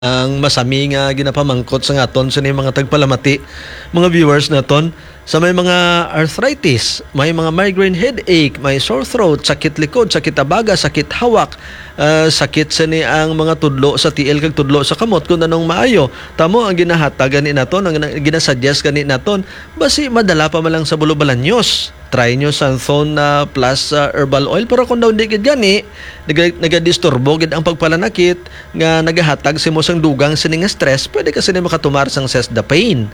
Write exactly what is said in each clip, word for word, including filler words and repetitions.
ang masami nga ginapamangkot sa aton sini mga tagpalamati, mga viewers naton, sa may mga arthritis, may mga migraine headache, may sore throat, sakit likod, sakit abaga, sakit hawak, ah, sakit sini ang mga tudlo sa tiil kag tudlo sa kamot, kung anong maayo. Tamo ang ginahatag gani naton, ang gina-, ginasuggest gani naton, basi madala pa man lang sa Bulubalanyos. Try nyo Santhon, ah, plus, ah, herbal oil. Pero kung daw di gid gani, naga-, nagadisturbo gid ang pagpalanakit nga nagahatag sa imo sang dugang sini nga stress, pwede ka sini makatumar sang Sesdapane.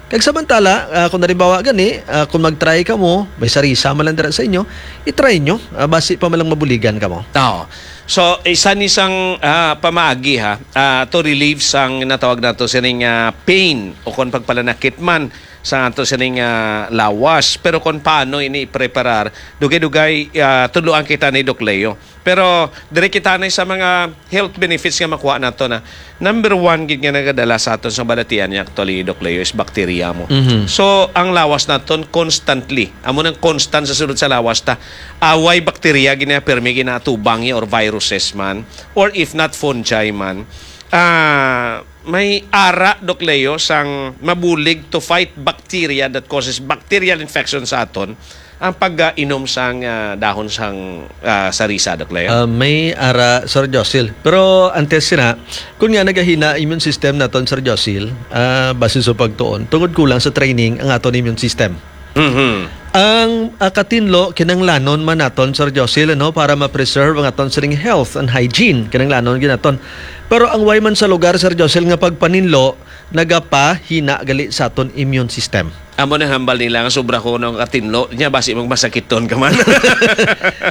Kag samantala, ah, kung halimbawa gani, ah, kung mag-try ka mo, may sarisa man lang dira sa inyo, i-try nyo, ah, basi pa man lang mabuligan ka mo. Oo. So, isa ni sang, ah, pamaagi, ha, ah, to relieve sang natawag nato sining, ah, pain o kon pagpalanakit man sa ato sining, ah, lawas. Pero kon paano ini ipreparar, dugay-dugay, ah, tudloan kita ni Doc Leo. Pero diri kita na sa mga health benefits nga makuha nato na. Number one gid nga nagadala sa aton sa balatian niya actually, Doc Leo, is bacteria mo. Mhm. So, ang lawas naton constantly, amo nang constant sa sulod sa lawas ta. Away bacteria gina permi ginatubang niya or viruses man, or if not fungi man. Ah, may ara, Doc Leo, sang mabulig to fight bacteria that causes bacterial infection sa aton ang pag-inom sang, ah, dahon sang, ah, sarisa, Doc Leo? Ah, may ara, Sir Josil. Pero antes sina, kung nga nagahina immune system naton, Sir Josil, ah, base sa pagtuon, tungod kulang sa training ang aton immune system. Mhm. Ang, ah, katinlo, kinanglanon man naton, Sir Josil, ano, para ma-preserve ang aton sining health and hygiene. Kinanglanon gid naton. Pero ang way man sa lugar, Sir Josil, nga pagpaninlo, nagapahina gali sa aton immune system. Amo nang hambal nila nga sobra ko ng katinlo, nya basi magmasakiton ka man.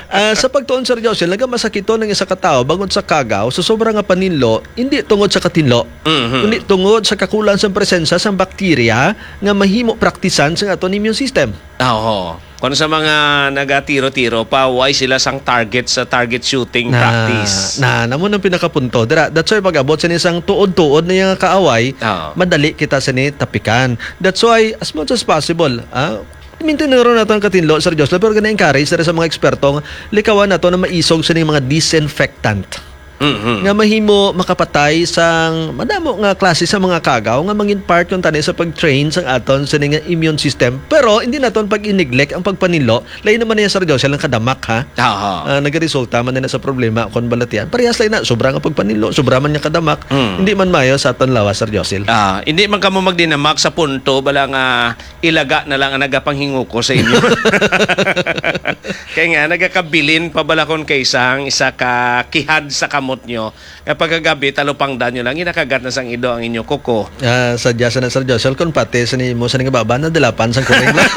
Ah, sa pagtuon, Sir Josil, nagamasakiton ang isa ka tawo bangod sa kagaw, sa sobra nga paninlo, hindi tungod sa katinlo, Mhm. kundi tungod sa kakulang sa presensya sang bakterya nga mahimo praktisan sa aton immune system. Ah, oo. Kung sa mga nagatiro-tiro pa, why sila sang target sa target shooting Na, practice? Na, namo nang pinakapunto. Dira, that's why pag-abot sa isang tuod-tuod na yung kaaway, Oo. madali kita sa ni tapikan. That's why, as much as possible, ah, maintain na ron nato ang katinlo, Sir Jocelyn, pero gina-encourage na rin sa mga eksperto nga likawan nato na maisog sa ning mga disinfectant Mhm. nga mahimo makapatay sang madamo nga klase sa mga kagaw nga mangin part kuntani sa pag-train sang aton sa ning immune system. Pero hindi naton pag-i-neglect ang pagpaninlo. Lain naman niya, Sir Jocelyn, ang kadamak, ha? Aha. Ah, nagaresulta man na sa problema kung balatian. Parehas lang na, sobra nga pagpaninlo, sobra man nga kadamak, Mm. hindi man mayo sa aton lawas, Sir Jocelyn. Ah, hindi man kamo magdinamak sa punto, bala nga ilaga na lang ang nagapanghinguko sa inyo. Kaya nga, nagakabilin pa bala kon kaysa ang isa ka kihad sa kamot nyo, nga pagkagabi, talupangdan nyo lang, ginakagat na sang ido ang inyo kuko. Ah, sadya sa na, Sir Jocelyn, kung pati sa nimo sa nangababa, nadalapan sang kuring lang.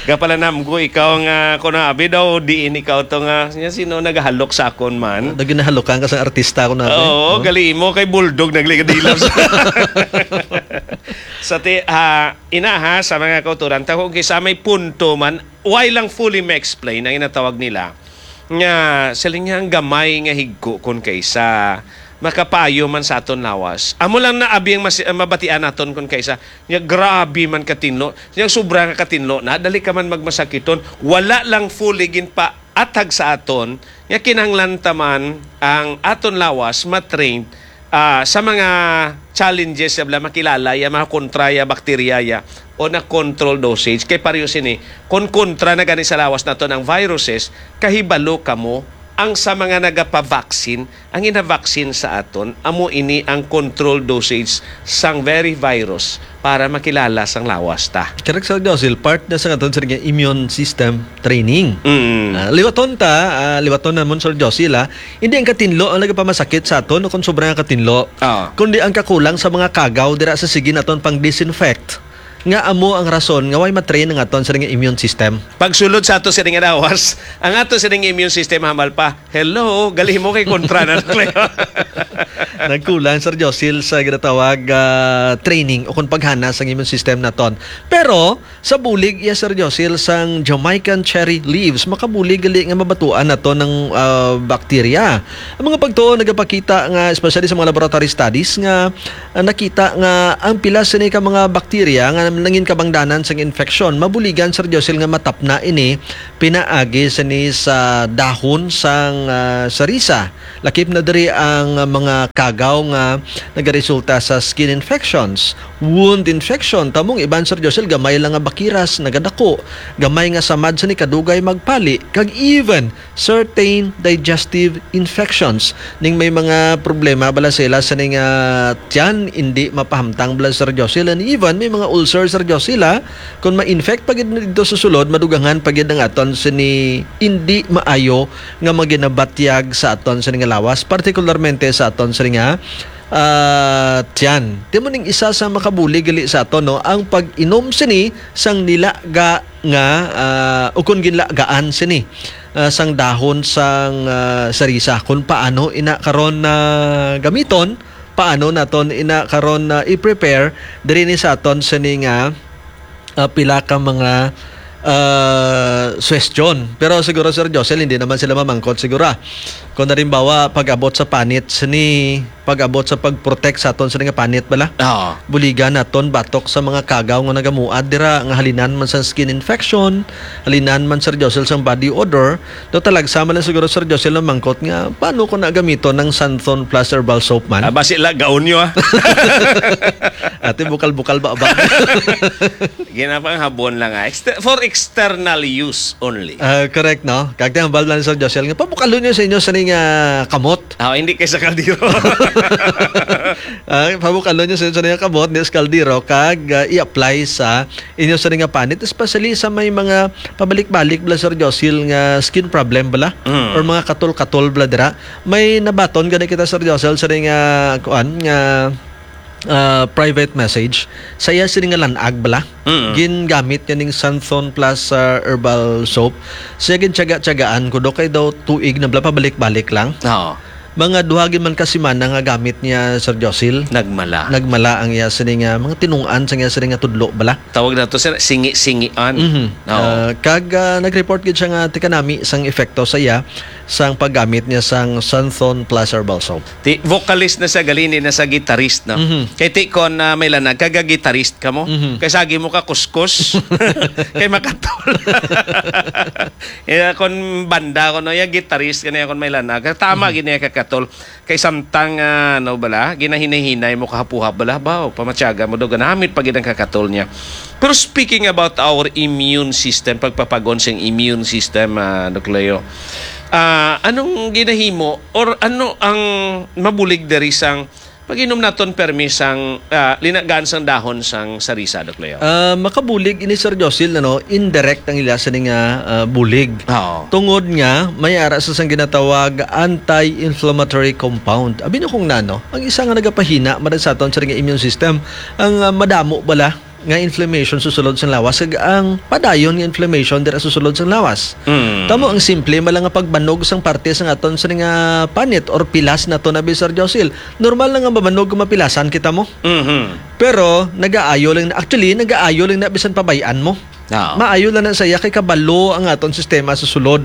Kapalanamgo, ikaw nga, kung abi daw, diin ikaw to nga, nya sino nagahalok sa akon man? Naginahalukan ka sa artista, kung abi. Oo, No? gali mo, kay Bulldog, naglikadilap sa Sa ti-, ah, ina ha, sa mga kauturan, ta kung kisa may punto man, why lang fully ma-explain ang inatawag nila nga siling niya ang gamay nga higko kon kaysa makapayo man sa aton lawas. Amo lang na abi ang mas-, ang mabatian naton kon kaysa niya grabe man katinlo, niya sobra nga katinlo na, dali ka man magmasakiton. Wala lang fully ginpaatag sa aton nga kinahanglan ta man ang aton lawas ma-train ah, sa mga challenges ya bala, makilala ya, mga kontra ya, bakterya ya, o na control dosage. Kay pareho sini, kung kontra na gani sa lawas naton ang viruses, kahibalo kamo ang sa mga nagapavaccine, ang inavaccine sa aton, amo ini ang control dosage sang very virus para makilala sang lawas ta. Correct, Sir Josil, part na sa aton sa immune system training. Mm. Ah, liwaton ta, ah, liwaton namon, Sir Josil, ah. Hindi ang katinlo ang nagapamasakit sa aton o kung sobra nga katinlo, Ah. kundi ang kakulang sa mga kagaw dira sa sige naton pang disinfect. Nga amo ang rason nga way matrain ang aton sa nga immune system. Pagsulod sa ato sa nga lawas, ang ato sa nga immune system hamal pa. Hello, gali mo kay kontra na. Nagkulang, Sir Josil, sa ginatawag, ah, training o kung paghana sang immune system naton. Pero, sa bulig iya, Sir Josil, sang Jamaican cherry leaves, makabulig gali nga mabatuan nato ng, ah, bakterya. Ang mga pagtuo nagapakita nga, especially sa mga laboratory studies, nga, ah, nakita nga ang pila sini ka mga bakterya nga nangin kabangdanan sang infeksyon, mabuligan, Sir Josil, nga matapna ini pinaagi sini sa dahon sang, ah, sarisa. Lakip na diri ang mga kagaw nga nagaresulta sa skin infections, wound infection. Tamong iban, Sir Josel, gamay lang nga bakiras, nagadako, gamay nga samad sini kadugay magpali, kag even certain digestive infections. Ning may mga problema bala sila sa ning, ah, tiyan, hindi mapahamtang bala, Sir Josel, and even may mga ulcer, Sir Josel, ah, kung ma-infect pa gid dito sa sulod, madugangan pa gid ang aton sini hindi maayo nga maginabatyag sa aton sini nga lawas, partikularmente sa aton sini nga, ah, tiyan. Timo ning isa sa makabulig gali sa aton, no, ang pag-inom sini sang nilaga nga, ah, ukon ginlagaan sini, ah, sang dahon sang, ah, sarisa. Kung paano ina karon na gamiton, paano naton ina karon na i-prepare diri ni sa aton sini nga ah, pila ka mga, ah, suwestyon. Pero siguro, Sir Josel, hindi naman sila mamangkot siguro, ah. Kung halimbawa, pag-abot sa panit sini, pag-abot sa pag-protect sa aton sini nga panit bala. Oo. Buligan naton batok sa mga kagaw nga nagamuad dira, nga halinan man sa skin infection, halinan man, Sir Josel, sang body odor. Do talagsa man lang siguro, Sir Josel, ang mangkot nga, paano ko na gamiton ng Santhon Plus Herbal Soap man? Ah, basi la, gaon nyo, ah. Ate, bukal-bukal ba, ba? Ginapanghabon lang, ah. Exter-, for external use only. Ah, correct, no? Kag hambal lang sa Josel nga, pabukalon nyo sa inyo sa ning, ah, kamot. Ah, hindi kay sa kaldero. Ah, pabukalon nyo sa inyo sa ning kamot, di sa kaldero, kag, ah, i-apply sa inyo sa ning panit, especially sa may mga pabalik-balik bala, Sir Josil, nga skin problem bala, Mm. or mga katol-katol bala dira. May nabaton gani kita, Sir Josil, sa ning, ah, kuan, nga ah, private message. Sa iya sini nga lanag bala. Mm. Gingamit niya ning Santhon Plus, ah, herbal soap. Siya gintyaga-tyagaan ko do kay daw tuig na bala, pabalik-balik lang. Oo. Mga duha gid man ka semana nga gamit niya, Sir Josil. Nagmala. Nagmala ang iya sini nga mga tinung-an sa iya sini nga tudlo bala. Tawag na to, sir, singi-singian. Mhm. Oo. Ah, kag, ah, nag-report gid siya nga tika nami sang epekto sa iya sang paggamit niya sang Santhon Plus Herbal Soap. Ti, vocalist na siya, gali, hindi na siya guitarist, no? Mhm. Kay ti kon, ah, may lanag ka, ga-guitarist ka mo. Mhm. Kay sagi mo ka kuskus. Kay makatol. Eh, kon banda ko, no, ya guitarist ka niya kon may lanag. Tama Mhm. gid niya kakatol. Kay samtang, ah, ano bala, ginahinay-hinay mo kahapuhap bala, baw, pamatyaga mo daw, ganamit pa gid ang kakatol niya. Pero speaking about our immune system, pagpapag-on sing immune system, ah, Doc Leo, ah, anong ginahimo or ano ang mabulig diri sang pag-inom naton permi sang, ah, linagaan sang dahon sang sarisa, Doc Leo? Ah, makabulig ini, Sir Josil, ano, indirect ang ila sini nga, ah, bulig. Oo. Tungod nga may ara sa sang ginatawag anti-inflammatory compound. Abi nyo kung nano, ang isa nga nagapahina man sa aton sa nga immune system, ang, ah, madamo bala nga inflammation sa sulod sang lawas, kag ang padayon nga inflammation dira sa sulod sang lawas. Mm. Tamo ang simple man lang nga pagbanog sang parte sang aton sa nga panit or pilas nato na, Sir Josil. Normal na nga mabanog kung mapilasan kita mo. Mhm. Pero nagaayo lang, actually, nagaayo lang na bisan pabay-an mo. Oo. Maayo lang na sa iya kay kabalo ang aton sistema sa sulod.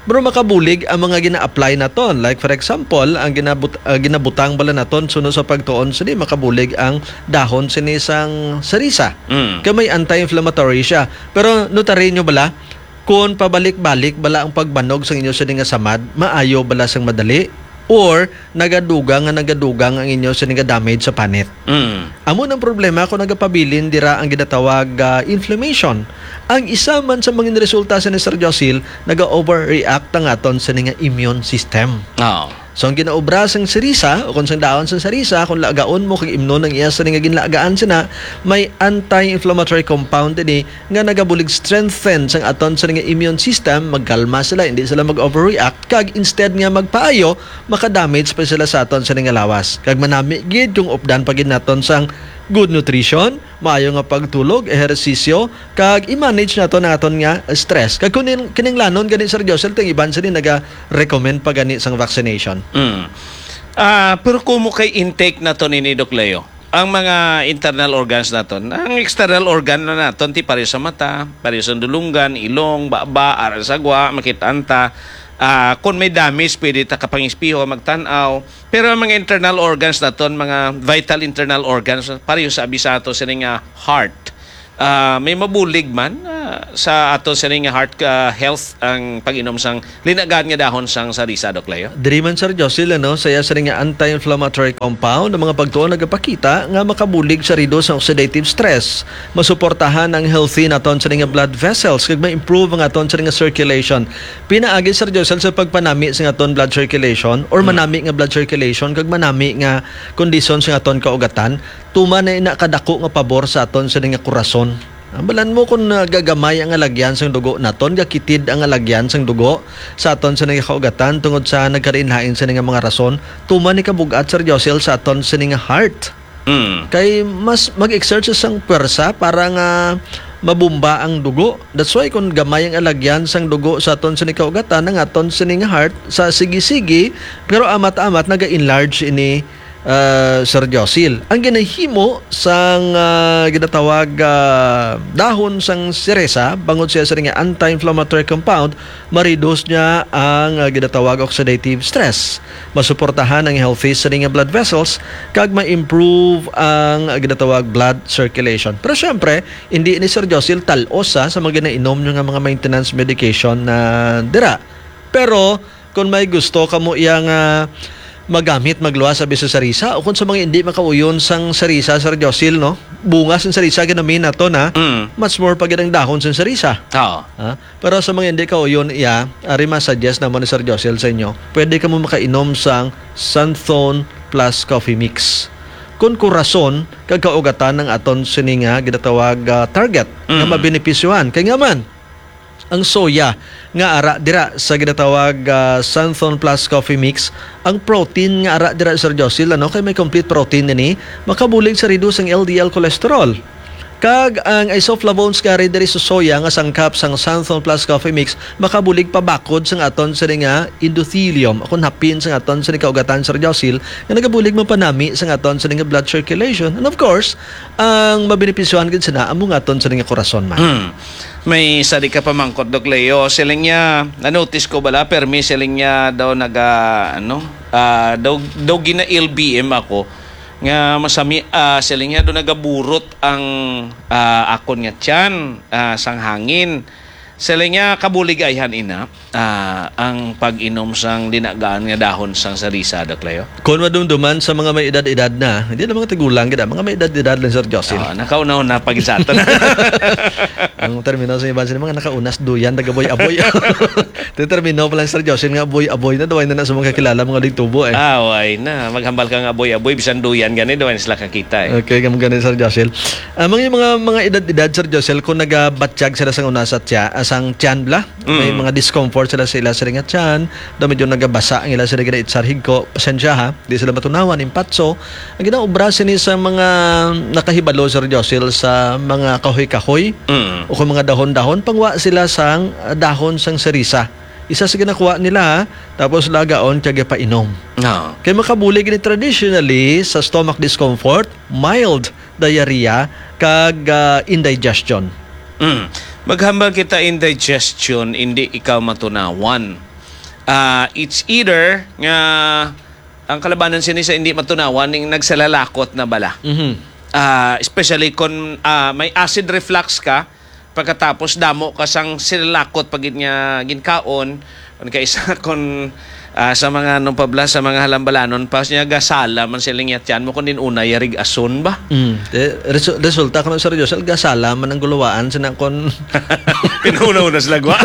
Pero makabulig ang mga gina-apply naton. Like, for example, ang ginabut-, ah, ginabutang bala naton suno sa pagtuon sini, makabulig ang dahon sini sang sarisa. Mm. Kay may anti-inflammatory siya. Pero notary nyo bala, kung pabalik-balik bala ang pagbanog sa inyo sini nga samad, maayo bala sang madali? Or nagadugang nga nagadugang ang inyo sini nga damage sa panit? Mm. Amo nang problema kung nagapabilin dira ang ginatawag, ah, inflammation. Ang isa man sa mga resulta sa ni Sir Josil, naga-overreact ang aton sini nga immune system. Oo. So, ang ginaobra sang sirisa, o kung sang dahon sang sarisa, kung lagaon mo kag imnon ang iya sini nga ginlagaan sina, may anti-inflammatory compound ini nga nagabulig strengthen sang aton sini nga immune system, magkalma sila, hindi sila mag-overreact, kag instead nga magpaayo, makadamage pa sila sa aton sini nga lawas. Kag manami gid kung updan pa gid naton sang good nutrition, maayo nga pagtulog, ehersisyo, kag i-manage naton ang aton nga stress. Kag kun nin-, kinahanglanon gani, Sir Josel, ting iban sini naga-recommend pa gani sang vaccination. Mm. Ah, pero kumo kay intake naton ini, Doc Leo? Ang mga internal organs naton, ang external organ na naton, ti pareho sa mata, pareho sa dulunggan, ilong, baba, ara sa gwa, makit-an ta. Ah, kung may damage, pwede ta kapangispiho, magtan-aw. Pero ang mga internal organs naton, mga vital internal organs, pareho sa abi sa ato sini nga heart. Ah, may mabulig man, ah, sa ato sini nga heart, ah, health ang pag-inom sang linagan nga dahon sang sarisa, Doc Leo? Diri man, Sir Josil, ano, saya sini nga anti-inflammatory compound, ang mga pagtuon nagapakita nga makabulig sa reduce ang oxidative stress, masuportahan ang healthy naton sini nga blood vessels, kag ma-improve ang aton sini nga circulation. Pinaagi, Sir Josil, sa pagpanami sa aton blood circulation or Mm. manami nga blood circulation kag manami nga kondisyon sa aton kaugatan, tuman na ina kadako nga pabor sa aton sini nga korason. Ambalan mo kung, ah, gagamay ang alagyan sang dugo naton, gakitid ang alagyan sang dugo sa aton sini nga kaugatan tungod sa nagkalain-lain sini nga mga rason, tuman ni kabug-at, Sir Josil, sa aton sini nga heart. Mm. Kay mas mag-exert siya sang pwersa para nga mabumba ang dugo. That's why kung gamay ang alagyan sang dugo sa aton sini kaugatan, ang aton sini nga heart sa sige-sige, pero amat-amat naga-enlarge ini, ah, Sir Josil. Ang ginahimo sang, ah, ginatawag, ah, dahon sang siresa, bangod siya sini nga anti-inflammatory compound, ma-reduce niya ang, ah, ginatawag oxidative stress. Masuportahan ang healthy sini nga blood vessels kag ma-improve ang, ah, ginatawag blood circulation. Pero syempre, hindi ni Sir Josil talos, ha, sa mga ginainom niyo nga mga maintenance medication na dira. Pero kung may gusto kamo iya nga magamit, magluwas abi sa sarisa, o kung sa mga hindi makauyon sang sarisa, Sir Josil, no? Bunga sang sarisa, ginami nato na, Mm. much more pa gid ang dahon sang sarisa. Oo. Ha? Pero sa mga hindi kauyon iya, ari ma-suggest naman ni Sir Josil sa inyo, pwede kamo makainom sang Santhon Plus Coffee Mix. Kun korason kag kaugatan ang aton sini nga ginatawag, ah, target nga Mm. mabenepisyohan. Kay nga man, ang soya nga ara dira sa ginatawag, ah, Santhon Plus Coffee Mix, ang protein nga ara dira, Sir Josil, ano, kay may complete protein ini, makabulig sa reduce ang L D L cholesterol. Kag ang isoflavones nga ari diri sa soya nga sangkap sang Santhon Plus Coffee Mix makabulig pabakod sang aton sini nga endothelium, o kon hapin sang aton sini kaugatan, Sir Josil, nga nagabulig mapanami sang aton sini nga blood circulation. And of course, ang mabenepisyohan gid sina amo nga aton sini nga korason man. Hmm. May isa di ka pamangkot, Doc Leo. Siling niya, na-notice ko bala, permi siling niya daw naga, ano, ah, daw, daw gina-L B M ako. Nga masami, ah, siling niya daw nagaburot ang, ah, akon nga tiyan, ah, sang hangin. Siling niya kabulig ayhan ina, ah, ang pag-inom sang linagaan nga dahon sang sarisa, Doc Leo. Kon madumduman sa mga may edad-edad na, hindi na mga tigulang gid, ah, mga may edad-edad lang, Sir Jocelyn. Ah, nakauna-una pa gid sa aton. Ang termino sa iban sila, mga nakaunas duyan, nagaboy-aboy. Ito yung termino pa lang, Sir Jocelyn, nga aboy-aboy na, duway na na sa mga kakilala, mga digtubo, eh. Ah, way na. Maghambal ka nga aboy-aboy, bisan duyan gani, duway na sila kakita, eh. Okay, kamo gani, Sir Jocelyn. Ah, mga, mga, mga edad-edad, Sir Jocelyn, kung nagabatyag sila sang una sa tiya-, ah, sang tiyan bla, may Mm. mga discomfort sila sa ila sila nga tiyan, daw medyo nagabasa ang ila sila ginaitsar higko, pasensya ha, di sila matunawan, impatso. Ang ginaobra sini sa mga nakahibalo, Sir Josil, sa mga kahoy-kahoy Mm. o kung mga dahon-dahon, pangwa sila sang, ah, dahon sang sarisa. Isa sa ginakuha nila, ha? Tapos lagaon kag ipainom. Ah. Kay makabulig ni traditionally sa stomach discomfort, mild diarrhea, kag, ah, indigestion. Mm. Maghambal kita indigestion, hindi ikaw matunawan. Ah, it's either nga ang kalabanan sini sa hindi matunawan, ning nagsalalakot na bala. Mhm. Ah, especially kung, ah, may acid reflux ka, pagkatapos damo ka sang silalakot pa gid nga ginkaon, kung kaisa kung, ah, sa mga ano pa bala, sa mga halambalanon pa, siya gasala man sila nga tiyan mo, kung din una, yarig ason ba? Mm. Eh, resu-, resulta ko na, Sir Josel, gasala man ang gulawaan, sina kon Pinuna-una sila, gwa.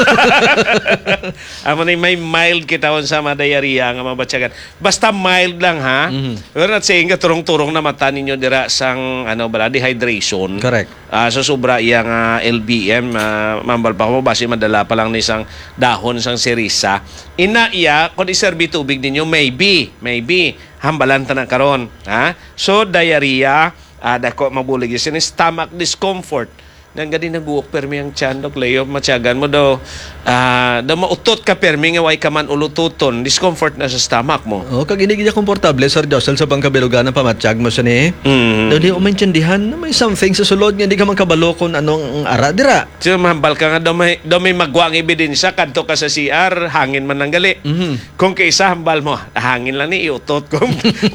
Amo ni may mild kita sa mga diarrhea nga mabatyagan. Basta mild lang, ha? Mhm. We're not saying nga turong-turong na mata ninyo dira sang, ano, bala, dehydration. Correct. Ah, so sobra iya nga L B M, ah, mambal pa ko, basi madala pa lang ni sang dahon sang sirisa. Ina iya, kung iserbi tubig ninyo, maybe, maybe, hambalan ta na karon, ha? So, diarrhea, ah, dako mabulig. Sini stomach discomfort. Nang gani naguok permi ang tiyan, Doc Leo, matyagan mo daw, ah, daw mautot ka permi nga way ka man ulututon, discomfort na sa stomach mo. Oh, kag hindi gid komportable, Sir Josel, sa pangkabilugan ang pamatyag mo sini. Mm. Daw di mo maintindihan na may something sa sulod nga di ka man kabalo kung anong ara dira. So, mahambal ka nga daw may, daw may magwa ang ebidensya, kadto ka sa C R, hangin man ang gali. Mhm. Kung kaisa, hambal mo, "Hangin lang ni, iutot ko."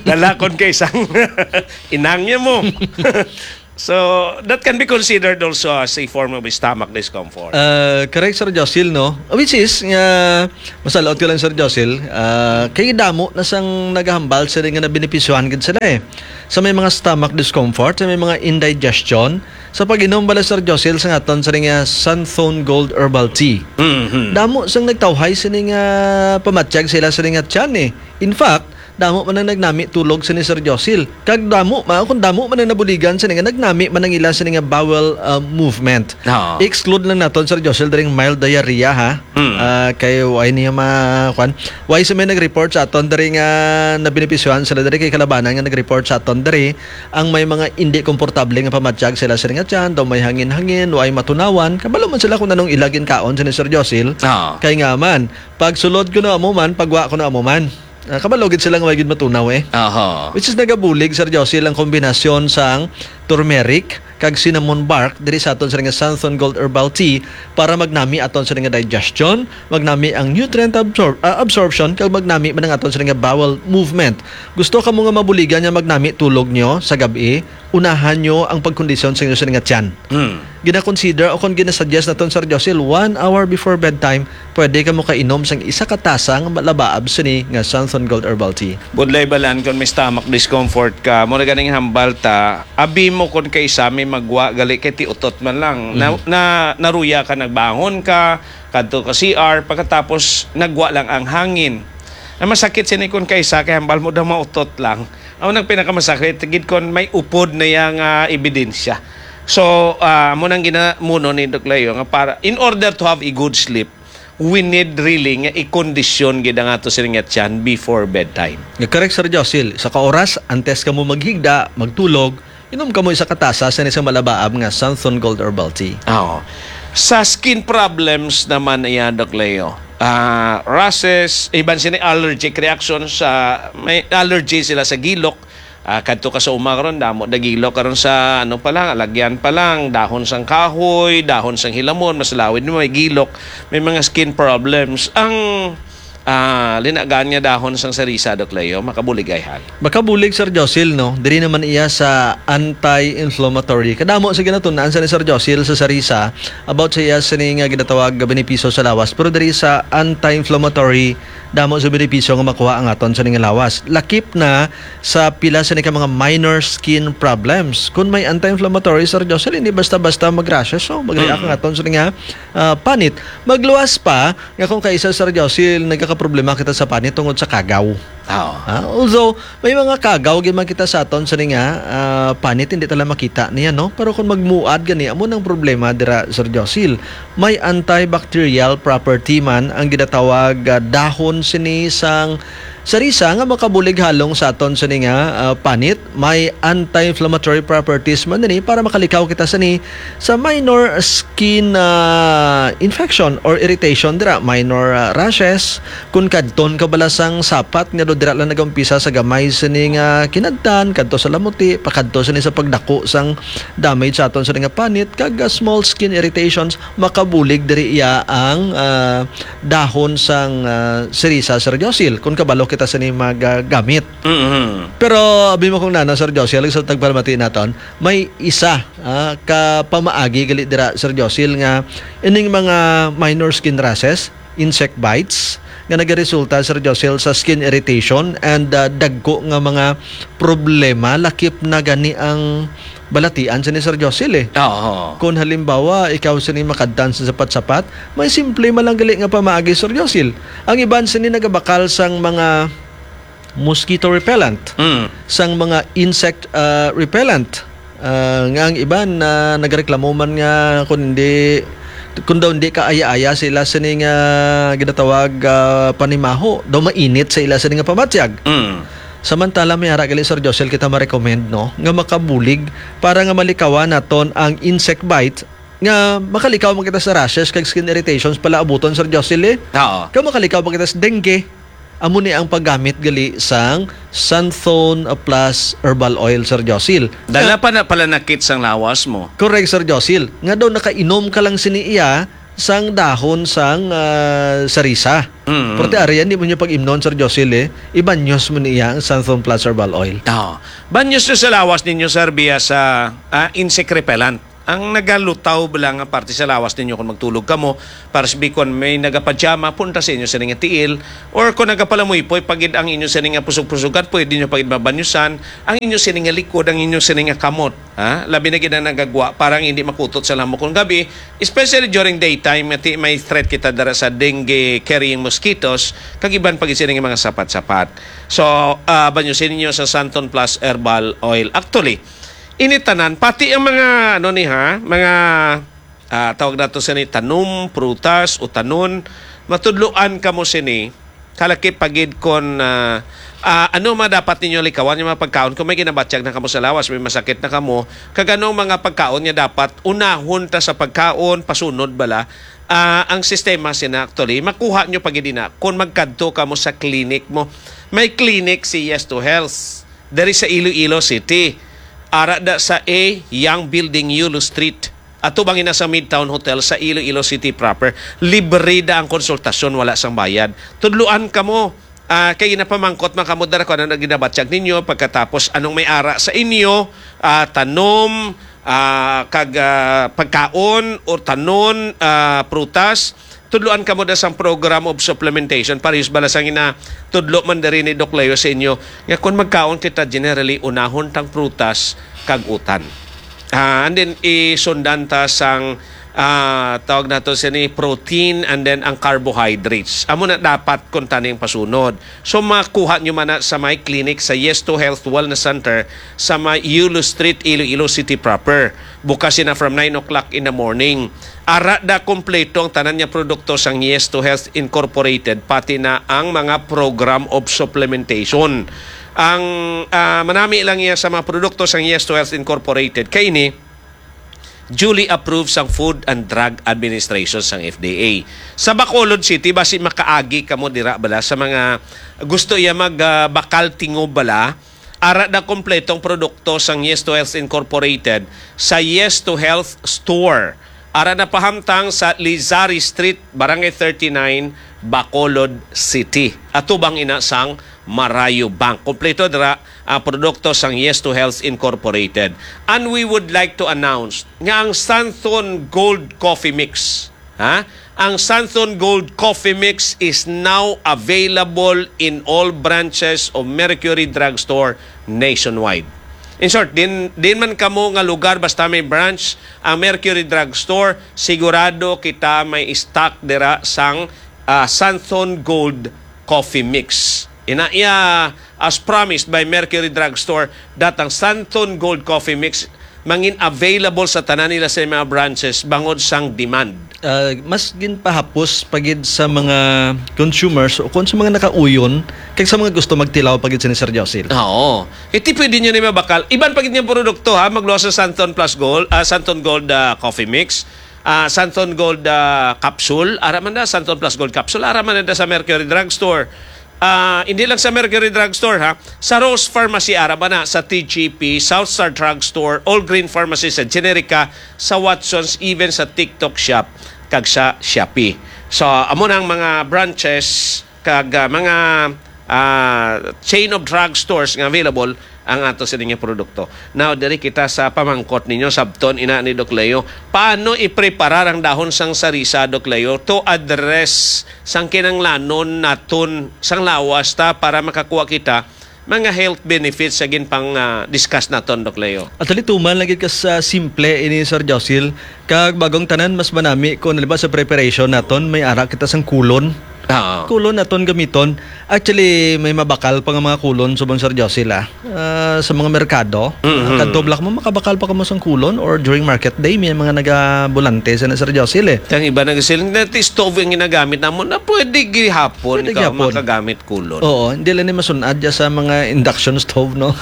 Dala kon kaisang inangya mo. So, that can be considered also as a form of stomach discomfort. Ah, correct, Sir Josil, no? Which is, nga, masalaot ko lang, Sir Josil, ah, kay damo na sang nagahambal sila nga nabenepisyohan gid sila, eh. Sa may mga stomach discomfort, sa may mga indigestion, sa pag-inom bala, Sir Josil, sa aton sini nga Santhon Gold Herbal Tea. Mhm. Damo sang nagtawhay sini nga pamatyag sila sini nga tiyan, eh. In fact, damo man ang nagnami tulog sini, Sir Josil. Kag damo man, kung damo man ang nabuligan sini nga nagnami man ang ila sini nga bowel, ah, movement. Oo. Exclude lang naton, Sir Josil, diri ang mild diarrhea, ha. Mm. Ah, kay why niya ma-, kwan? Why sa may nag-report sa aton diri nga nabenepisyohan sila diri kay kalabanan nga nag-report sa aton diri ang may mga indi komportable nga pamatyag sila sini nga tiyan, daw may hangin-hangin, way matunawan. Kabalo man sila kung anong ila ginkaon sini, Sir Josil. Oo. Kay nga man, pag sulod ko na amo man, pagwa ko na amo man. Ah, kabalo gid sila nga way gid matunaw, eh. Aha. Which is nagabulig, Sir Josil, ang kombinasyon sang turmeric kag cinnamon bark diri sa aton sini nga Santhon Gold Herbal Tea para magnami aton sini nga digestion, magnami ang nutrient absor-, ah, absorption, kag magnami man ang aton sini nga bowel movement. Gusto ka mo nga mabuligan nga magnami tulog nyo sa gab-i? Unahan nyo ang pagkondisyon sa inyo sini nga tiyan. Hmm. Gina-consider o kon ginasuggest naton, Sir Josil, one hour before bedtime, pwede ka mo kainom sang isa ka tasa nga malabaab sini nga Santhon Gold Herbal Tea. Budlay balan kon may stomach discomfort ka, mo na ganing hambal ta, abi mo kon kay sa may magwa gali kay ti utot man lang. Na, Mhm. na, naruya ka, nagbangon ka, kadto ka C R, pagkatapos nagwa lang ang hangin. Ang masakit sini kon kay sa kay hambal mo daw mautot lang. Ang nagpinakamasakit gid kon may upod na yang, ah, ebidensya. So, ah, mo nang ginamuno ni Doc Leo nga para, in order to have a good sleep, we need really nga i-condition gid ang ato sini nga tiyan before bedtime. Nga correct, Sir Josil. Sa ka oras, antes ka mo maghigda, magtulog, inom ka mo isa ka tasa sa isang malabaab nga Santhon Gold Herbal Tea. Oo. Sa skin problems naman, iya, Doc Leo, ah, rashes, iban sini allergic reactions, sa may allergy sila sa gilok. Ah, kadto ka sa uma karon, damo na gilok karon sa ano pa lang, alagyan pa lang, dahon sang kahoy, dahon sang hilamon, mas lawid mo may gilok, may mga skin problems. Ang, ah, linagan nga dahon sang sarisa, Doc Leo, makabulig ay hal. Makabulig, Sir Josil, no? Diri naman iya sa anti-inflammatory. Kadamo sa ginatun-an sa ni Sir Josil sa sarisa about sa iya sini nga ginatawag nga benepisyo sa lawas. Pero diri sa anti-inflammatory, damo sa benepisyo nga makuha ang aton sini nga lawas. Lakip na sa pila sini ka mga minor skin problems. Kung may anti-inflammatory, Sir Josil, hindi basta-basta mag-rashes, so mag-react Mm. ang aton sini nga, ah, panit. Magluwas pa nga kung kaisa, Sir Josil, nagkakaproblema kita sa panit tungod sa kagaw. Oo. Ah, although, may mga kagaw gid man kita sa aton sini nga, ah, panit, hindi ta lang makita niya, no? Pero kung magmuad gani, amo nang problema dira, Sir Josil. May antibacterial property man ang ginatawag, ah, dahon sini sang sarisa nga makabulig halong sa aton sini nga, ah, panit. May anti-inflammatory properties man ini para makalikaw kita sini sa minor skin, ah, infection or irritation dira, minor, ah, rashes. Kung kadton ka bala sang sapat nga do dira lang nag-umpisa sa gamay sini nga kinadtan, kadto sa lamuti, pakadto sini sa pagdako sang damage sa aton sini nga panit, kag, ah, small skin irritations, makabulig diri iya ang, ah, dahon sang, ah, sarisa, Sir Josil, kung kabalo kita sini magagamit. Mhm. Pero abi mo kung nana, Sir Josil, sa tagpalamati naton, may isa, ah, ka pamaagi gali dira, Sir Josil, nga ining mga minor skin rashes, insect bites, nga nagaresulta, Sir Josil, sa skin irritation and, ah, dagko nga mga problema, lakip na gani ang balatian sini, Sir Josil, eh. Oo. Kung halimbawa, ikaw sini makadtan sa sapat-sapat, may simple man lang gali nga pamaagi, Sir Josil. Ang iban sini nagabakal sang mga mosquito repellent, Mm. sang mga insect, ah, repellent. Ah, nga ang iban, ah, nagreklamo man nga kung hindi, kung daw hindi ka aya-aya sila sini nga ginatawag, ah, panimaho, daw mainit sa ila sini nga pamatyag. Mm. Samantala, may ara gali, Sir Josil, kita ma-recommend, no, nga makabulig para nga malikawan naton ang insect bite nga makalikaw man kita sa rashes kag skin irritations pala abuton, Sir Josil, eh. Oo. Kag makalikaw man kita sa dengue. Amo ni ang paggamit gali sang Santhon Plus Herbal Oil, Sir Josil. Dala pa na pala nakit sang lawas mo. Correct, Sir Josil. Nga daw nakainom ka lang sini iya sang dahon sang ah, sarisa. Mm. Pero ti ari, hindi mo niya pag-imnon, Sir Josil, eh. Ibanyos mo niya ang Santhon Plus Herbal Oil. Oh. Banyos nyo sa lawas ninyo, sir, biya sa ah, insect repellent. Ang nagalutaw bala nga parte sa lawas ninyo kung magtulog kamo, para sa bikon may nagapajama, punta sa inyo sa nga tiil, or kung nagapalamuypoy pagid ang inyo sa nga pusog-pusugan, pwede nyo pagid mabanyusan ang inyo sa nga likod, ang inyo sa nga kamot. Ha? Labi na gid ang nagagwa para ang hindi makutot sa lamok kung gabi, especially during daytime, nga ti may threat kita dara sa dengue carrying mosquitoes, kag iban pagid sini nga mga sapat-sapat. So, ah, banyusin ninyo sa Santon Plus Herbal Oil. Actually, ini tanan, pati ang mga, ano ni ha, mga, ah, tawag nato sini, tanom, prutas, utanon, matudloan kamo sini, kalaki pagid kon, ah, ah, ano man dapat ninyo likawan yung mga pagkaon kung may ginabatyag na kamo sa lawas, may masakit na kamo, kag anong mga pagkaon nga dapat unahon ta sa pagkaon, pasunod bala, ah, ang sistema sina actually, makuha nyo pagid ina kung magkadto kamo sa clinic mo. May clinic si Yes to Health diri sa Iloilo City. Ara da sa A Young Building, Yulo Street. Atubang ina sa Midtown Hotel sa Iloilo City proper. Libre da ang konsultasyon, wala sang bayad. Tudluan kamo, ah, kay ginapamangkot man kamo dara kung ano na ginabatyag ninyo, pagkatapos anong may ara sa inyo, ah, tanom, ah, kag, ah, pagkaon o tanon, ah, prutas. Tudloan kamo da sang program of supplementation, parehas bala sang ina tudlo man diri ni Doc Leo sa inyo, nga kung magkaon kita, generally unahon tang prutas kag utan. Ah, and then isundan ta sang, ah, tawag nato sini, protein and then ang carbohydrates. Amo na dapat kung taning pasunod. So makuha nyo man na sa my clinic sa Yes to Health Wellness Center sa may Yulo Street, Iloilo City proper. Bukas sina from nine o'clock in the morning. Ara da kompleto ang tanan nga produkto sang Yes to Health Incorporated, pati na ang mga program of supplementation. Ang, ah, manami lang iya sa mga produkto sang Yes to Health Incorporated kay ini duly approved sang Food and Drug Administration sang F D A. Sa Bacolod City, basi makaagi kamo dira bala sa mga gusto iya mag, ah, bakal tingob bala, ara da kompletong produkto sang Yes to Health Incorporated sa Yes to Health Store. Ara na pahamtang sa Lizari Street, Barangay thirty-nine, Bacolod City. Atubang ina sang Marayo Bank. Kompleto dira ang produkto sang Yes to Health Incorporated. And we would like to announce nga ang Santhon Gold Coffee Mix, ha? Ang Santhon Gold Coffee Mix is now available in all branches of Mercury Drugstore nationwide. In short, din, din man kamo nga lugar, basta may branch ang Mercury Drugstore, sigurado kita may stock dira sang, ah, Santhon Gold Coffee Mix. Ina iya, as promised by Mercury Drugstore, datang Santhon Gold Coffee Mix mangin available sa tanan nila sa mga branches bangod sang demand. Ah, mas ginpahapos pagid sa mga consumers o kung sa mga nakauyon kag sa mga gusto magtilaw pagid sini, Sir Josil. Oo. Iti pwede nyo ni mabakal. Iban pagid nga produkto ha, magluwas sa Santon Plus Gold, ah, Santon Gold, ah, Coffee Mix, ah, Santon Gold, ah, Capsule, ara man na, Santon Plus Gold Capsule, ara man na sa Mercury Drugstore. Ah, hindi lang sa Mercury Drugstore ha, sa Rose Pharmacy, ara man na, sa T G P, South Star Drugstore, All Green Pharmacy, sa Generica, sa Watsons, even sa TikTok Shop, kag sa Shopee. So, amo na ang mga branches kag, ah, mga, ah, chain of drugstores nga available ang ato sini nga produkto. Now, diri kita sa pamangkot ninyo, sabton ina ni Doc Leo, paano ipreparar ang dahon sang sarisa, Doc Leo, to address sang kinanglanon naton sang lawas ta para makakuha kita mga health benefits sa ginpang, ah, discuss naton, Doc Leo? Actually, tuman lagi ka sa simple ini, Sir Josil. Kag bagong tanan, mas manami kung, halimbawa, sa preparation naton, may ara kita sang kulon. Ah. Kulon aton gamiton. Actually, may mabakal pa nga mga kulon subong, Sir Josil, ah. Ah, sa mga merkado. Mhm. Kadto bala mo, makabakal pa kamo sang kulon, or during market day, may mga nagabulante sa na, Sir Josil, eh. Ang iba nagasiling na ti stove ang ginagamit namo, na pwede gihapon Pwede ka gihapon. makagamit kulon. Oo, hindi lang ni masunad ya sa mga induction stove, no?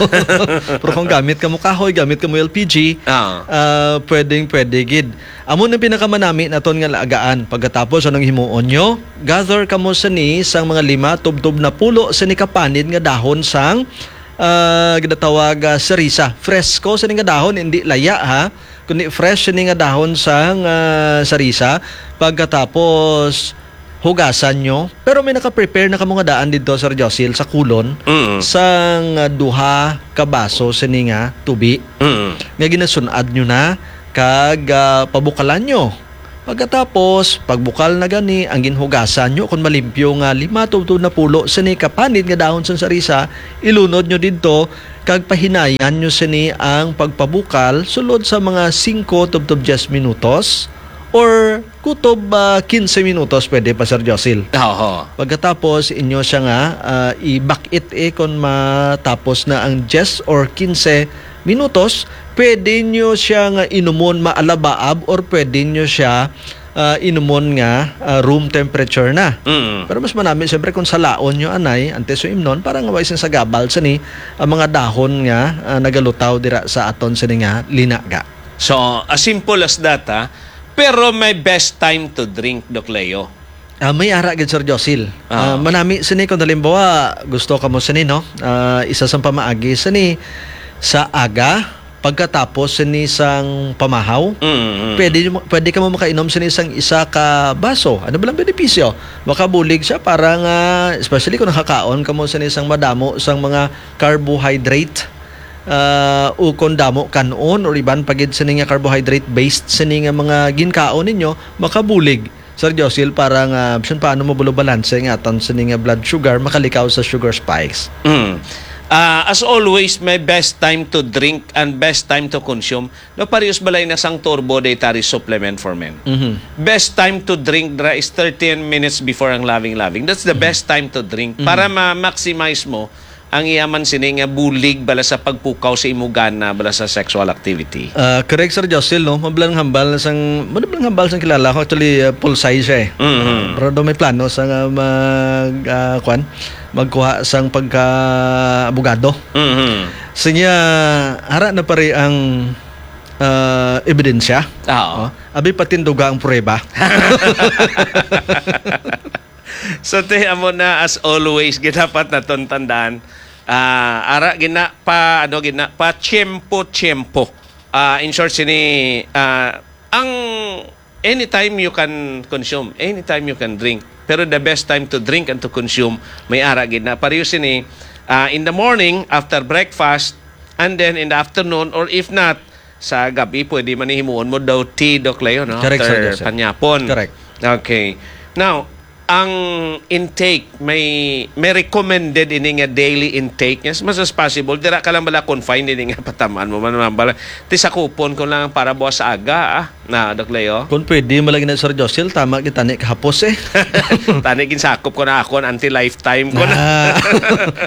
Pero kung gamit ka mo kahoy, gamit ka mo L P G, Ah. ah, pwedeng pwede gid. Amo nang pinakamanami naton nga laagaan. Pagkatapos, anong himuon nyo? Gather kamo sini sang mga lima tubtob na pulo sini ka panid nga dahon sang, ah, ginatawag, ah, sarisa. Fresko sini nga dahon, hindi laya, ha? Kundi fresh sini nga dahon sang, ah, sarisa. Pagkatapos, hugasan nyo. Pero may naka-prepare na kamo nga daan didto, Sir Josil, sa kulon Mm. sang, ah, duha ka baso sini nga tubi Mm. nga ginasun-ad nyo na kag, ah, pabukalan nyo. Pagkatapos, pagbukal na gani, ang ginhugasan nyo kon malimpyo nga lima tubtob na pulo sini ka panid nga dahon sang sarisa, ilunod nyo didto kag pahinayan nyo sini ang pagpabukal sulod sa mga singko tubtob diyes minutos or kutob, ah, kinse minutos, pwede pa, Sir Josil. Oho. Pagkatapos, inyo siya nga, ah, ibakit, eh, kung matapos na ang diyes or kinse minutos, pwede nyo siya nga inumon maalabaab or pwede nyo siya, ah, inumon nga, ah, room temperature na. Mm. Pero mas manami, siyempre, kung salaon nyo anay, antes yung imnon, para nga way sing sagabal sini ang mga dahon nga, ah, nagalutaw dira sa aton sini nga linaga. So, as simple as that, ha? Pero may best time to drink, Doc Leo. Ah, may ara gid, Sir Josil. Ah. Ah, manami sini kung halimbawa gusto ka mo sini, no? Ah, isa sang pamaagi sini sa aga, pagkatapos sini sang pamahaw. Mm, mm. Pwede mo, pwede ka mo makainom sini sang isa ka baso. Ano ba lang benepisyo? Makabulig siya para nga, especially kung nakakaon ka mo sini sang madamo sang mga carbohydrate, ah, ukon damo kanon or iban pa gid sini nga carbohydrate-based sini nga mga ginkaon ninyo, makabulig, Sir Josil, para nga bisan paano mo bulo balanse nga aton sini nga blood sugar, makalikaw sa sugar spikes. Mm. Ah, as always, may best time to drink and best time to consume. No, parehas balay na sang Turbo Dietary Supplement for Men. Mhm. Best time to drink dra is thirteen minutes before ang loving-loving. That's the Mhm. best time to drink Mhm. para ma-maximize mo ang iya man sini nga bulig bala sa pagpukaw sa imo gana bala sa sexual activity. Ah, correct, Sir Josil, no? Mablang hambal na sang, mablang hambal sang kilala ko. Actually, ah, pulsay siya, eh. Mhm. Ah, pero daw may plano sa nga mag, ah, kwan, magkuha sang pagka-abogado. Mhm. Sinya, ara na pare ang, ah, ebidensya. Oo. Oh, abi patinduga ang prueba. So, te, amo na, as always, gid dapat naton tandaan, ah, ara gina pa, ano, gina pa tiyempo-tiyempo. Ah, in short, sini, ah, ang anytime you can consume, anytime you can drink. Pero the best time to drink and to consume, may ara gid na. Pareho sini, ah, in the morning, after breakfast, and then in the afternoon, or if not, sa gabi, pwede man himuon mo daw tea, Doc Leo, no? Correct, Sir After Joseph. Panyapon. Correct. Okay. Now, ang intake, may, may recommended ini nga daily intake. As much as possible, dira ka lang bala confined ini nga patamaan mo man, man bala. Ti sakupon ko lang para buwas sa aga, ah. Na, Doc Leo? Kung pwede, malagi na, Sir Josil, tama kita ni kahapos, eh. Tani ginsakop ko na ako, ang anti-lifetime ko na. Ah,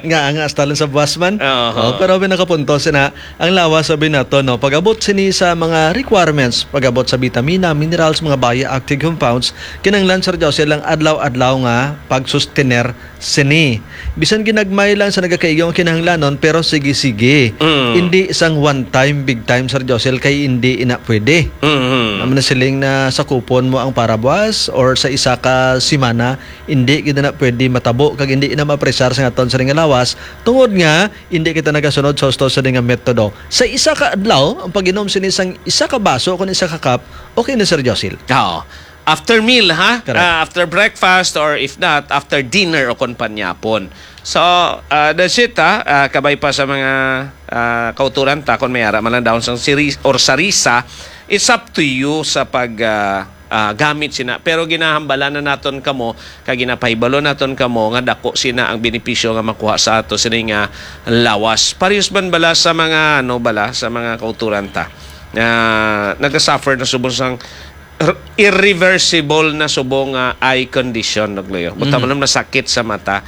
nga, nga, hasta lang sa buwas man. Oo. Oh, pero may nakapunto sina, ang lawas, sabi nato, no, pag-abot sini sa mga requirements, pag-abot sa bitamina, minerals, mga bioactive compounds, kinahanglan, Sir Josil, ang adlaw-adlaw nga pagsustener sini. Bisan ginagmay lang sa nagakaigo nga kinahanglanon, pero sige-sige. Mm. Hindi sang one time, big time, Sir Josel, kay hindi ina pwede. Mm. Amo na siling na sakupon mo ang parabuas or sa isa ka semana, hindi gid na pwede matabo kag hindi na maapresar sa aton sining lawas, tungod nga hindi kita nagasunod sa husto sa nga metodo. Sa isa ka adlaw, ang pag-inom sini sang isa ka baso o kon isa ka cup, okay na, Sir Josil. Oo. After meal, ha? Correct. Ah, after breakfast, or if not, after dinner o kon panyapon. So, ah, that's it, ha? Ah, kabay pa sa mga, ah, kauturan ta, kung may ara man lang dahon sang siri-, or sarisa, it's up to you sa pag, ah, ah, gamit sina. Pero ginahambala na naton kamo, kag ginapahibalo naton kamo nga dako sina ang benepisyo nga makuha sa ato sini nga lawas. Parehas man bala sa mga, ano bala, sa mga kauturan ta nga nagasuffer na subong sang r-, irreversible na subong nga eye condition, Doc Leo. Buta Mhm. man ang nasakit sa mata.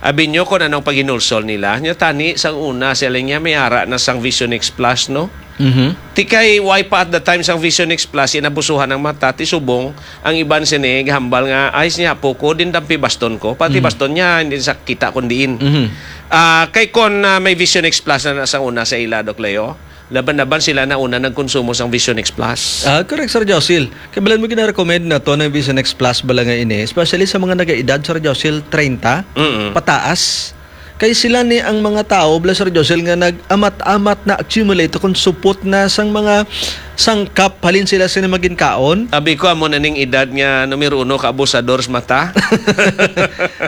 Abi nyo kung anong paghinulsol nila. Nya tani, sang una, sila niya may ara na sang Vision X Plus, no? Mhm. Ti kay, why pa at the time sang Vision X Plus, inabusuhan ang mata, ti subong, ang iban sini, hambal nga, "Ay, siya po ko, din dampi baston ko." Pati Mhm. baston niya, hindi sa kita kung diin. Mhm. Ah, kay kon, ah, may Vision X Plus na, na sang una sa ila, Doc Leo, laban-laban sila na una nagkonsumo sang Vision X Plus. Ah, correct, Sir Josil. Kabalan mo gina-recommend na to ng Vision X Plus bala nga ini, especially sa mga nagaedad, Sir Josil, treinta, Mm-mm. pataas. Kay sila ni ang mga tao, bala, Sir Josil, nga nag-amat-amat na accumulate kung supot na sang mga sangkap halin sila sila maginkaon. Abi ko, amo na ning edad nga numero uno ka abusador sa mata.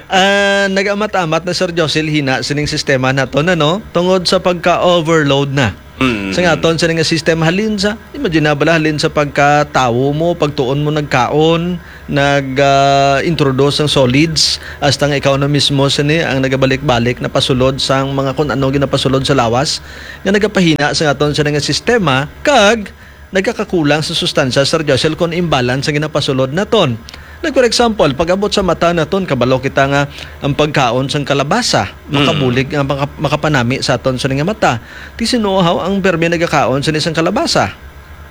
Ah, nag-amat-amat na, Sir Josil, hina sining sistema naton, ano? Tungod sa pagka-overload na. Mm. Sa nga aton sini nga system, halin sa, imagine na bala, halin sa pagkatawo mo, pagtuon mo nagkaon, nag, ah, introduce ng solids, hasta nga ikaw na mismo sini ang nagabalik-balik na pasulod sang mga kun ano ginapasulod sa lawas, nga nagapahina sa aton sini nga sistema, kag nagkakakulang sa sustansya, Sir Joshel, kon imbalance ang ginapasulod naton. Like, for example, pag-abot sa mata naton, kabalo kita nga ang pagkaon sang kalabasa, Mm. makabulig, nga maka-, makapanami sa aton sini nga mata. Ti sinuhaw ang permi nagakaon sini sang kalabasa.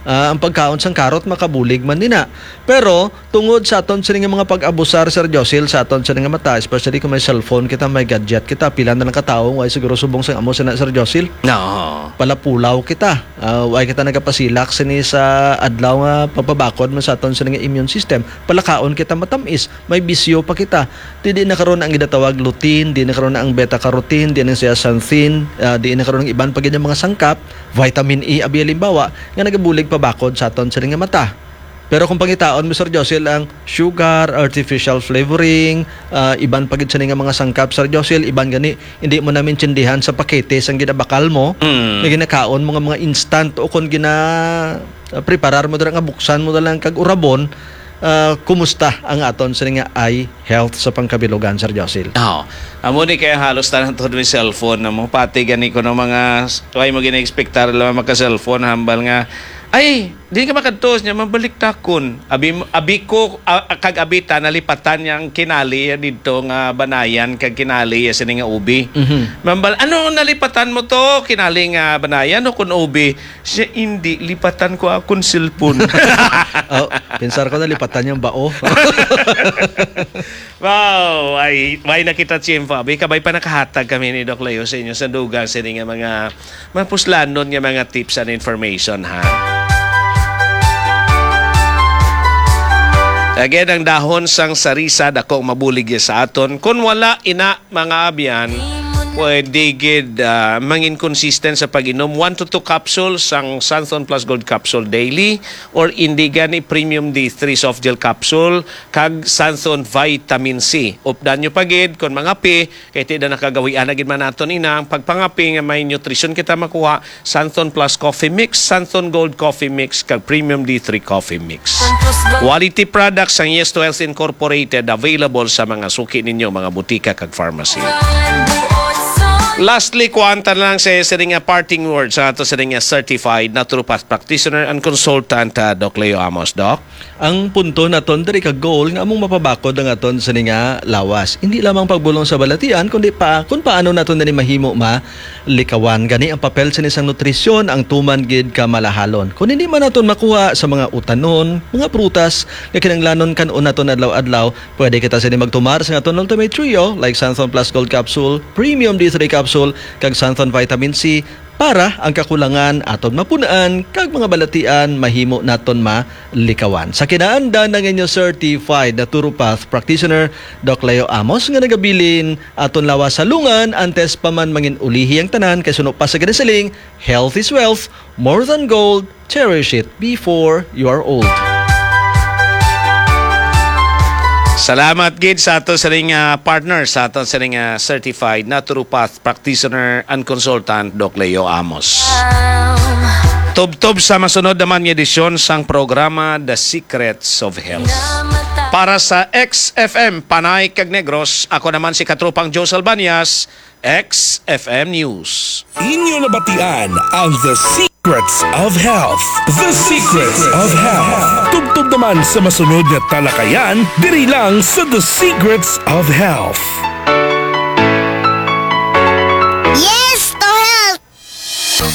Ah, ang pagkaon sang karot makabulig man nina. Pero tungod sa aton sini nga mga pag-abusar, Sir Josil, sa aton sini nga mata, especially kung may cellphone kita, may gadget kita, pila na lang ka tawo, way siguro subong sang amo sina, Sir Josil? No. Palapulaw kita. Ah, way kita nagapasilak sini sa adlaw nga pagpabakod man sa aton sini nga immune system. Palakaon kita matamis, may bisyo pa kita. Ti di na karon ang ginatawag lutein, di na karon ang beta carotene, di na ang zeaxanthin, ah, di na karon ang iban pa gid nga mga sangkap, vitamin E, abi halimbawa, nga nagabulig pabakod sa aton sini nga mata. Pero kung pangitaon mo, Sir Josil, ang sugar, artificial flavoring, ah, iban pa gid sini nga mga sangkap, Sir Josil, iban gani, hindi mo na maintindihan sa pakete sang ginabakal mo, Mm. nga ginakaon mo nga mga instant o kung gina, ah, preparar mo dira nga buksan mo na lang kag urabon, ah, kumusta ang aton sini nga eye health sa pangkabilugan, Sir Josil? Oo. Amo ni kaya halos tanan to may cellphone na mo. Pati gani ko ng mga s-, way mo gina-expectar lang maka-cellphone, hambal nga, "Ay, di ka makadtos niya, mabalik takon." Abi, abi ko, ah, kag abi ta, nalipatan niya ang kinali ya dito nga banayan, kag kinali ya sini nga ubi. Mhm. Mambal, "Ano nalipatan mo to? Kinali nga banayan o kun ubi?" Siya, "Hindi, lipatan ko akon cellphone." Oh, pensar ko nalipatan niyang bao. Wow, ay, may nakita tiyempo. Abi, kabay pa nakahatag kami ni Doc Leo sa inyo sa dugang sini nga mga mapuslanon nga mga tips and information, ha? Again, ang dahon sang sarisa, dako ang mabulig ya sa aton. Kung wala, ina, mga abyan, pwede gid, ah, mangin consistent sa pag-inom one to two capsules sang Santhon Plus Gold Capsule daily or indi gani Premium D three Soft Gel Capsule kag Santhon Vitamin C. Updan nyo pa gid kon mangape, kay ti da nakagawian na gid man naton ina ang pagpangape nga may nutrition kita makuha, Santhon Plus Coffee Mix, Santhon Gold Coffee Mix, kag Premium D three Coffee Mix. Quality products sang Yes to Health Incorporated, available sa mga suki ninyo, mga butika kag pharmacy. Lastly, kuwanta na lang sa sini nga parting words sa ato sini nga certified naturopath practitioner and consultant, ah, Doc Leo Amos. Doc? Ang punto naton diri ka goal nga among mapabakod ang aton sini nga lawas. Hindi lamang pagbulong sa balatian, kundi pa kung paano naton diri mahimo malikawan. Gani ang papel sini sang nutrisyon ang tuman gid ka malahalon. Kung hindi man naton makuha sa mga utanon, mga prutas nga kinahanglanon kan-on naton adlaw-adlaw, pwede kita sini magtumar sa aton Ultimate Trio like Santhon Plus Gold Capsule, Premium D three Capsule, kag Santhon Vitamin C, para ang kakulangan aton mapun-an kag mga balatian mahimo naton malikawan. Sa kinaandan ang inyo certified naturopath practitioner, Doc Leo Amos, nga nagabilin aton lawas sa lungan antes pa man mangin-ulihi ang tanan, kay suno pa sa ginasiling, "Health is wealth, more than gold, cherish it before you are old." Salamat gid sa ato sining, ah, partner, sa ato sining, ah, certified naturopath practitioner and consultant, Doc Leo Amos. Tubtob sa masunod naman nga edisyon sang programa The Secrets of Health. Para sa X F M Panay kag Negros, ako naman si Katropang Joe Salbañas. X F M News. Inyo nabatian ang The Secrets of Health. The Secrets of Health. Tubtob naman sa masunod nga talakayan, diri lang sa The Secrets of Health. Yes to health!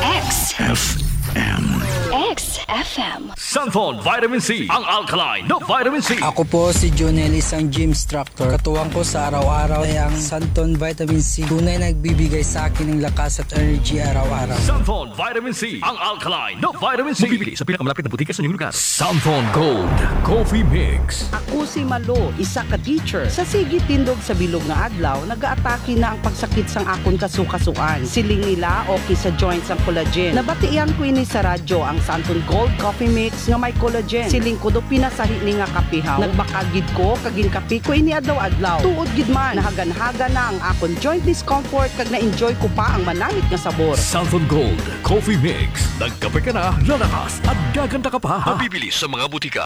X F M. X F M. Santhon Vitamin C, ang alkaline na vitamin C. Ako po si Jonel, isang gym instructor. Katuwang ko sa araw-araw ay ang Santon Vitamin C. Tunay na nagbibigay sa akin ng lakas at energy araw-araw. Santon Vitamin C, ang alkaline na vitamin C. Mabibili sa pinakamalapit na butika sa inyong lugar. Santon Gold Coffee Mix. Ako si Malo, isa ka teacher. Sa sige tindog sa bilog nga adlaw, nagaatake na ang pagsakit sang akon kasukasuan. Siling nila, okay sa joints ang collagen. Nabatian ko ini sa radyo, ang Santon Gold Coffee Mix nga may collagen. Siling ko, daw pinasahi ni nga kape, haw. Nagbakal gid ko, kag ginkape ko ini adlaw-adlaw. Tuod gid man, nahagan-hagan na ang akon joint discomfort, kag na-enjoy ko pa ang manamit nga sabor. Santon Gold Coffee Mix. Nagkape ka na, lalakas, at gaganda ka pa. Mabibili sa mga butika.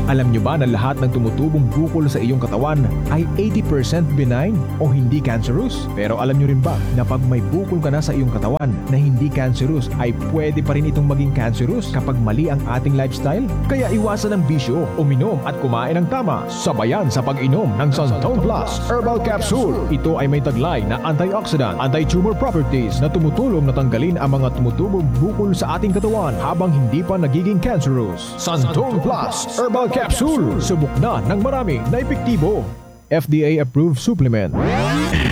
Alam nyo ba na lahat ng tumutubong bukol sa iyong katawan ay eighty percent benign o hindi cancerous? Pero alam nyo rin ba na pag may bukol ka na sa iyong katawan na hindi cancerous, ay pwede pa rin itong maging cancerous kapag mali ang ating lifestyle? Kaya iwasan ang bisyo, uminom at kumain ng tama, sabayan sa pag-inom ng Santon Plus Herbal Capsule. Ito ay may taglay na antioxidant, anti-tumor properties na tumutulong na tanggalin ang mga tumutubong bukol sa ating katawan habang hindi pa nagiging cancerous. Santon Plus Herbal Capsule. Subok na ng marami na epektibo. F D A approved supplement.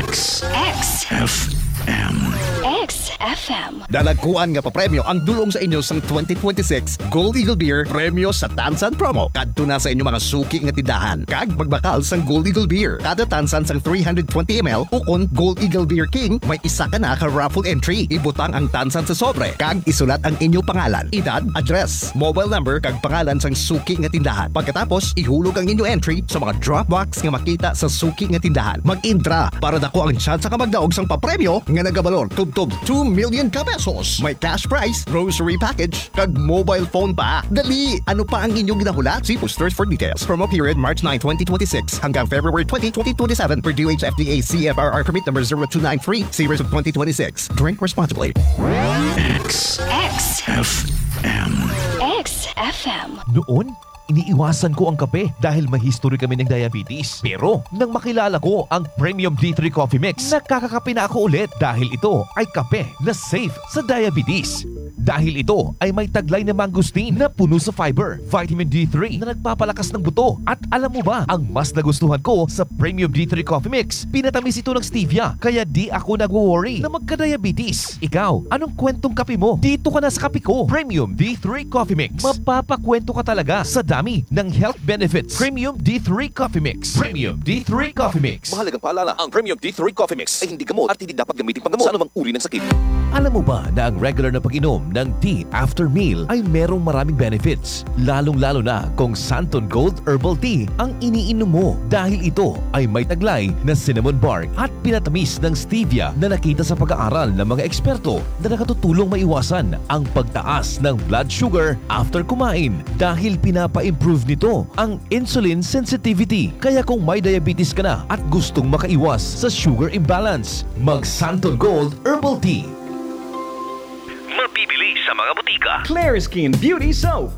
X X F M. X F M. Dalagkuan nga papremyo ang dulong sa inyo sang twenty twenty-six Gold Eagle Beer Premyo sa Tansan Promo. Kadto na sa inyo mga suki nga tindahan kag magbakal sang Gold Eagle Beer. Kada tansan sang three hundred twenty M L ukon Gold Eagle Beer King, may isa ka na ka raffle entry. Ibutang ang tansan sa sobre kag isulat ang inyo pangalan, edad, address, mobile number, kag pangalan sang suki nga tindahan. Pagkatapos, ihulog ang inyo entry sa mga drop box nga makita sa suki nga tindahan. Mag-intra para dako ang tsansa ka magdaog sang papremyo nga nagabalor tubtob two million ka pesos. May cash prize, grocery package, kag mobile phone pa. Dali! Ano pa ang inyong ginahulat? See posters for details. Promo period March nine, twenty twenty-six hanggang February twenty, twenty twenty-seven, per D O H F D A C F R R permit number zero two nine three, series of twenty twenty-six. Drink responsibly. X X F M. X F M. Noon, iniiwasan ko ang kape dahil may history kami ng diabetes. Pero nang makilala ko ang Premium D three Coffee Mix, nakakakape na ako ulit dahil ito ay kape na safe sa diabetes. Dahil ito ay may taglay na mangosteen na puno sa fiber, vitamin D three na nagpapalakas ng buto. At alam mo ba, ang mas nagustuhan ko sa Premium D three Coffee Mix, pinatamis ito ng stevia, kaya di ako nagwo-worry na magka-diabetes. Ikaw, anong kwentong kape mo? Dito ka na sa kape ko, Premium D three Coffee Mix. Mapapakwento ka talaga sa dami ng health benefits. Premium D three Coffee Mix. Premium D three Coffee Mix. Mahalagang paalala, ang Premium D three Coffee Mix ay hindi gamot at hindi dapat gamitin panggamot sa anumang uri ng sakit. Alam mo ba na ang regular na pag-inom ng tea after meal ay merong maraming benefits, lalong-lalo na kung Santon Gold Herbal Tea ang iniinom mo, dahil ito ay may taglay na cinnamon bark at pinatamis ng stevia na nakita sa pag-aaral ng mga eksperto na nakatutulong maiwasan ang pagtaas ng blood sugar after kumain, dahil pinapa-improve nito ang insulin sensitivity. Kaya kung may diabetes ka na at gustong makaiwas sa sugar imbalance, mag Santon Gold Herbal Tea. Mabibili sa mga butika. Clear Skin Beauty Soap.